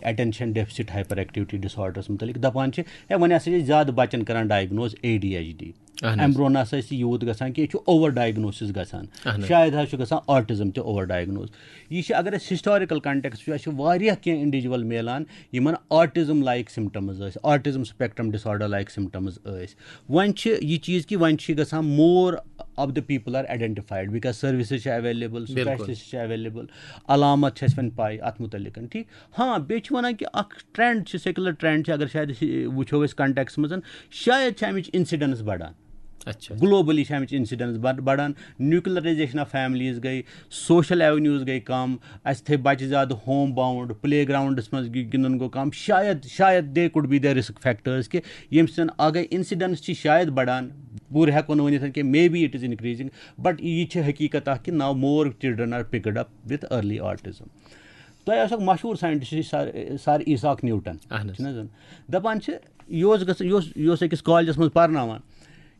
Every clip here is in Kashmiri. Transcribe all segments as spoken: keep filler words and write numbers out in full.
اٹینشن ڈیفسٹ ہائپر ایکٹیویٹی ڈس آرڈرس متعلق، دپان چھِ ہے وۄنۍ ہسا چھِ زیادٕ بچن کران diagnose A D H D. اہن حظ۔ امہِ برونٛہہ نہ ہسا ٲسۍ یہِ یوٗت گژھان کینٛہہ، یہِ چھُ اوور ڈائگنوسس گژھان۔ اہن حظ۔ شاید حظ چھُ گژھان آٹزم تہِ اوور ڈائگنوز۔ یہِ چھِ، اگر أسۍ ہسٹاریکل کنٹیکسٹ وٕچھو، اَسہِ چھِ واریاہ کینٛہہ انڈیویجول میلان یِمن آٹزم لائک سمٹمز ٲسۍ، آٹزم سپیکٹرم ڈس آرڈر لائک سمٹمز ٲسۍ۔ وۄنۍ چھِ یہِ چیٖز کہِ وۄنۍ چھِ گژھان more of the people are identified because services چھِ available، بِلکُل۔ specialist چھِ available، علامت چھِ اَسہِ وۄنۍ پاے اتھ متعلق، ٹھیٖک۔ ہاں، بیٚیہِ چھِ وَنان کہِ اکھ ٹرینڈ چھِ، سیکولر ٹرینڈ چھِ، اگر شاید أسۍ وٕچھو أسۍ کنٹیکسٹ منٛز، شاید چھِ اَمِچ انسیڈنس بڑان۔ اچھا۔ گلوبلی چھِ اَمِچ انسیڈنس بڑ- بڑان۔ نیوکلرائزیشن آف فیملیز گٔے، سوشل ایونیوز گٔے کم، اَسہِ تھٲے بچہِ زیادٕ ہوم باؤنڈ، پلے گراؤنڈس منٛز گِ- گِنٛدُن گوٚو کم۔ شاید، شاید they could be the risk factors کہِ ییٚمہِ سۭتۍ اگے انسیڈنس چھِ شاید بڑان، پوٗرٕ ہٮ۪کو نہٕ ؤنِتھ کہِ maybe it is increasing، but یہِ چھِ حقیٖقت اکھ کہِ now more children are picked up with early autism۔ تۄہہِ آسیو مشہوٗر ساینٹسٹ سر، سر ایساک نیوٹن، اہن حظ۔ چھُنہٕ حظ؟ دپان چھِ، یہِ اوس گژھان، یہِ اوس، یہِ اوس أکِس کالجس منٛز پرناوان۔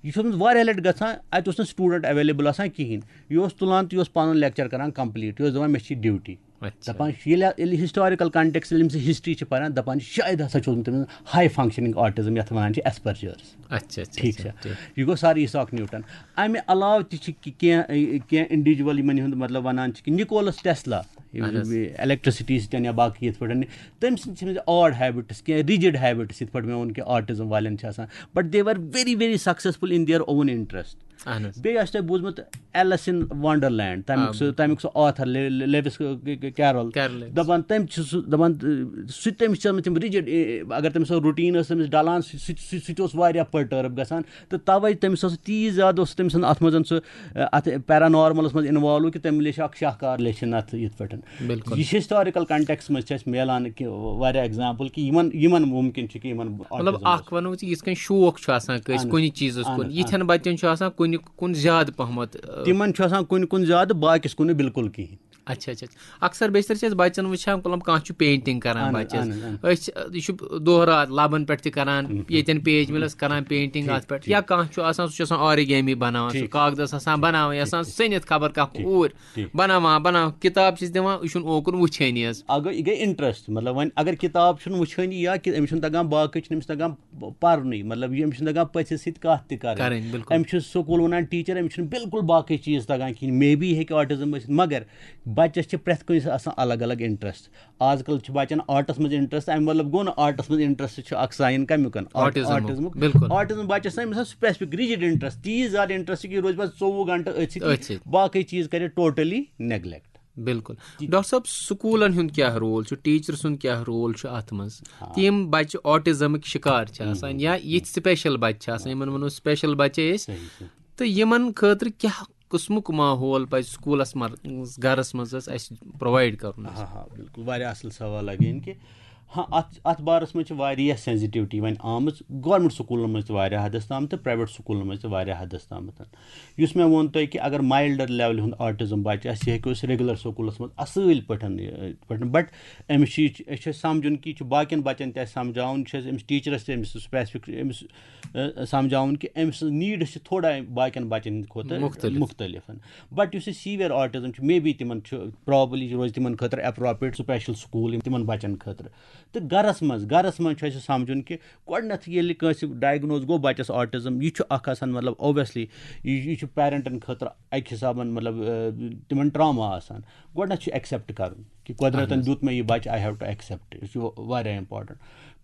یہِ چھُ اوسمُت واریاہ لٹہِ گژھان، اتہِ اوس نہٕ سٹوڈنٹ اویلیبل آسان کِہینۍ۔ یہِ اوس تُلان تہٕ یہِ اوس پنُن لیکچر کران کمپلیٖٹ، یہِ اوس دپان مےٚ چھِ ڈیوٹی۔ اچھا۔ دپان چھِ، ییٚلہِ، ییٚلہِ ہسٹاریکل کنٹیکسٹ، ییٚلہِ أمۍ سٕنٛز ہسٹری چھِ پران، دپان چھِ شاید ہسا چھُ اوسمُت تٔمِس ہائی فنکشننگ آٹزم، یتھ ونان چھِ ایسپرجرس۔ اچھا، اچھا، ٹھیٖک اچھا، چھا؟ ٹھیٖک۔ یہِ گوٚو سر ایساک نیوٹن۔ امہِ علاوٕ تہِ چھِ کہِ-، کینٛہہ، کینٛہہ انڈیویجول یِمن ہُنٛد مطلب ونان چھِ کہِ نِکولس ٹیسلا، اہن حظ۔ الیکٹریسٹی سۭتۍ یا باقٕے یِتھ پٲٹھۍ، تٔمۍ سٕنٛدۍ چھِ آڈ ہیبٹس، کینٛہہ رِجڈ ہیبٹس، یِتھ پٲٹھۍ مےٚ ووٚن کہِ آٹزم والٮ۪ن چھِ آسان، but they were very very successful in their own interest۔ اہن حظ۔ بیٚیہِ آسہِ تۄہہِ بوٗزمُت ایلس ان ونڈرلینڈ، تمیُک آ۔ سُہ، تمیُک سُہ آتھر لے-، لے-، لیوس کیرول۔ کیرول۔ دپان تٔمۍ چھِ سُہ، دپان، سُہ، تٔمِس چھِ آسمٕژ تِم رِجڈ، اگر تٔمِس سۄ روٹیٖن ٲس تٔمِس ڈلان، سُہ، سُہ، سُہ، سُہ تہِ اوس واریاہ پرٹرب گژھان۔ تہٕ توے تٔمِس اوس تیٖژ زیادٕ اوس تٔمۍ سُنٛد اتھ منٛز سُہ، اتھ پیرانارملس منٛز انوالو کہِ تٔمۍ لیچھ اکھ شاہکار لیچھِن اتھ یِتھ پٲٹھۍ۔ بِلکُل۔ یہِ چھِ ہسٹاریکل کنٹیکسٹ منٛز چھِ اَسہِ میلان کہِ واریاہ ایگزامپل کہِ یِمن، یِمن مُمکِن چھُ کہِ یِمن مطلب autism اکھ ونو أسۍ یِتھ کٔنۍ شوق چھُ آسان کٲنٛسہِ اہن حظ، کُنہِ چیٖزس اہن کُن، حظ، یِتھٮ۪ن بچن چھُ آسان کُنہِ کُن زیادٕ پہمتھ، آ، تِمن چھُ آسان کُنہِ کُن زیادٕ، باقیس کُن نہٕ بالکل کِہینۍ۔ اچھا اچھا اچھا۔ اکثر بیشتر چھِ أسۍ بچن وٕچھان، مطلب کانٛہہ چھُ پینٹنگ کران اہن حظ، بچس، اہن حظ، اہن حظ۔ أسۍ چھِ، یہِ چھُ دۄہ راتھ لبن پٮ۪ٹھ تہِ کران، ییٚتٮ۪ن پیج مِلس کران پینٹنگ اتھ پٮ۪ٹھ، یا کانٛہہ چھُ آسان سُہ چھُ آسان آرگیمی بناوان، سُہ ٹھیٖک۔ کاغذس آسان بناوان، یہِ آسان سٔنِتھ خبر کانٛہہ اوٗرۍ ٹھیٖک۔ بناوان بناوان کِتاب چھِس دِوان، یہِ چھُنہٕ اوکُن وٕچھٲنی حظ۔ اگر یہِ گٔے انٹرسٹ، مطلب وۄنۍ اگر کِتاب چھُنہٕ وٕچھٲنی یا کہِ أمِس چھُنہٕ تگان، باقٕے چھُنہٕ أمِس تگان پرنُے، مطلب یہِ أمِس چھُنہٕ تگان پٔژھِس سۭتۍ کتھ تہِ کرٕنۍ۔ کرٕنۍ، بِلکُل۔ أمِس چھُ سکوٗل ونان ٹیٖچر، أمِس چھُنہٕ بالکل باقٕے چیٖز تگان کِہینۍ، مے بی ہیٚکہِ آٹزم ٲسِتھ، مگر بچس چھِ پرٛٮ۪تھ کٲنٛسہِ آسان الگ الگ انٹرسٹ۔ آز کل چھِ بچن آرٹس منٛز انٹرسٹ، امہِ مطلب گوٚو نہٕ آرٹس منٛز انٹرسٹ چھُ اکھ ساین کمیُک۔ آٹزمُک، آٹزمُک۔ بِلکُل۔ آٹزم بچس چھِ أمِس آسان سپیسفک رِجڈ انٹرسٹ، تیٖز زیادٕ انٹرسٹ کہِ یہِ روزِ پتہٕ ژوٚوُہ گنٹہٕ أتھۍ سۭتۍ، أتھۍ سۭتۍ۔ باقٕے چیٖز کرِ ٹوٹلی نیگلیکٹ۔ بِلکُل۔ ڈاکٹر صٲب، سکوٗلن ہُنٛد کیٛاہ رول چھُ، ٹیٖچر سُنٛد کیٛاہ رول چھُ اتھ منٛز؟ تِم بچہِ آٹزمٕکۍ شکار چھِ آسان یا یِتھۍ سپیشل بچہِ چھِ آسان، یِمن ونو سپیشل بچے أسۍ، صحیح، صحیح۔ تہٕ یِمن خٲطرٕ کیٛاہ قٕسمُک ماحول پزِ سکوٗلس منٛز، گرس منٛز حظ اَسہِ پرووایڈ کرُن حظ؟ ہاں ہاں، بالکل، واریاہ اصل سوال لگٲیِن کہِ ہاں، اتھ، اتھ بارس منٛز چھِ واریاہ سینسٹیوٹی وۄنۍ آمٕژ گورمنٹ سکوٗلن منٛز تہِ واریاہ حدس تام تہٕ پرایویٹ سکوٗلن منٛز تہِ واریاہ حدس تامتھ۔ یُس مےٚ ووٚن تۄہہِ کہِ اگر مایلڈر لیولہِ ہُنٛد آٹزم بچہِ آسہِ، یہِ ہیٚکو أسۍ ریگولر سکوٗلس منٛز اصل پٲٹھۍ، یہِ، پٲٹھۍ، بٹ أمِس چھِ یہِ، أسۍ چھِ أسۍ سمجھُن کہِ یہِ چھُ باقین بچن تہِ اَسہِ سمجھاوُن، چھِ أسۍ أمِس ٹیٖچرس تہِ أمِس سپیسفک أمِس، ٲ، سمجھاوُن کہِ أمۍ سٕنٛز نیٖڈس چھِ تھوڑا باقین بچن کھۄتہٕ مُختٔلِف۔ مُختٔلِف۔ بٹ یُس یہِ سیٖویَر آٹزم چھُ، مے بی تِمن چھُ پرابلی روزِ تِمن خٲطرٕ اپروپریٹ سپیشل سکوٗل یِم تِمن بچن خٲطرٕ۔ تہٕ گرس منٛز، گرس منٛز چھُ اَسہِ سمجھُن کہِ گۄڈٕنیتھ ییٚلہِ کٲنٛسہِ ڈائگنوز گوٚو بچس آٹزم، یہِ چھُ اکھ آسان، مطلب، اوبویسلی یہِ، یہِ چھُ پیرنٹن خٲطرٕ اکہِ حسابن، مطلب، اہ، تِمن ٹراما آسان۔ گۄڈٕنیتھ چھُ ایکسپٹ کرُن کہِ قۄدرتن دیُت مےٚ یہِ بچہِ، I have to accept، یہِ چھُ واریاہ امپورٹنٹ۔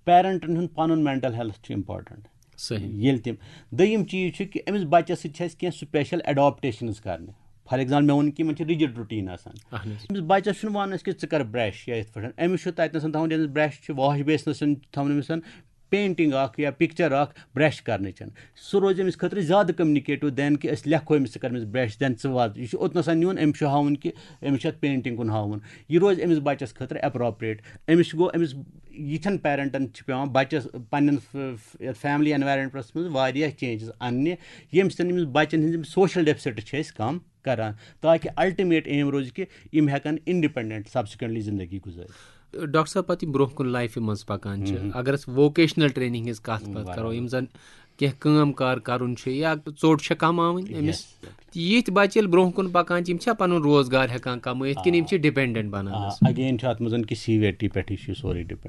پیرنٹن ہُنٛد پنُن مینٹل ہیلتھ چھُ امپورٹنٹ۔ صحیح۔ ییٚلہِ تِم، دوٚیِم چیٖز چھُ کہِ أمِس بچس سۭتۍ چھِ اَسہِ کینٛہہ سپیشل اڈاپٹیشنز کرنہِ۔ فار ایگزامپل، مےٚ ووٚن کہِ یِمن چھِ رِجڈ روٹیٖن آسان۔ اہن حظ۔ أمِس بچس چھُنہٕ ونان أسۍ کہِ ژٕ کر برش یا یِتھ پٲٹھۍ، أمِس چھُ تتہِ نَسَن تھاوُن، ییٚمِس برش چھُ، واش بیسنس چھُنہٕ تھاوُن أمِس، پینٹنگ اکھ یا پکچر اکھ برش کرنٕچ چھَنہٕ۔ سُہ روزِ أمِس خٲطرٕ زیادٕ کمیونِکیٹو دین کہِ أسۍ لیکھو أمِس، ژٕ کر أمِس برش، دین ژٕ وات۔ یہِ چھُ اوٚتنَسَن نیُن، أمِس چھُ ہاوُن کہِ أمِس چھُ اَتھ پینٹنگ کُن ہاوُن۔ یہِ روزِ أمِس بچس خٲطرٕ اپروپریٹ۔ أمِس چھُ گوٚو، أمِس یِتھٮ۪ن پیرنٹن چھِ پٮ۪وان بچس پننٮ۪ن ف-، ف-، یتھ فیملی انوائرمنٹس منٛز واریاہ چینجز اننہِ، ییٚمہِ سۭتۍ أمِس بچن ہٕنٛز یِم سوشل ڈیفسٹس چھِ أسۍ کم کران، تاکہِ الٹیمیٹ ایم روزِ کہِ یِم ہٮ۪کن انڈیپینڈنٹ سبسیکوئنٹلی زندگی گُزٲرِتھ۔ ڈاکٹر صٲب، پتہٕ یِم برونٛہہ کُن لایفہِ منٛز پکان چھِ، اگر أسۍ ووکیشنل ٹریننگ ہٕنٛز کتھ پتھ کرو، یِم زن کینٛہہ کٲم کار کرُن چھُ یا ژوٚٹ چھےٚ کماوٕنۍ أمِس، Yes، exactly۔ یِتھۍ بچہِ ییٚلہِ برونٛہہ کُن پکان چھِ، یِم چھا پنُن روزگار ہٮ۪کان کمٲیِتھ کِنہٕ یِم چھِ ڈِپینڈنٹ بنان آ، حظ؟ اگین چھُ اتھ منٛز کہِ سی وی ٹی پٮ۪ٹھٕے چھُ یہِ سورُے ڈِپینڈ۔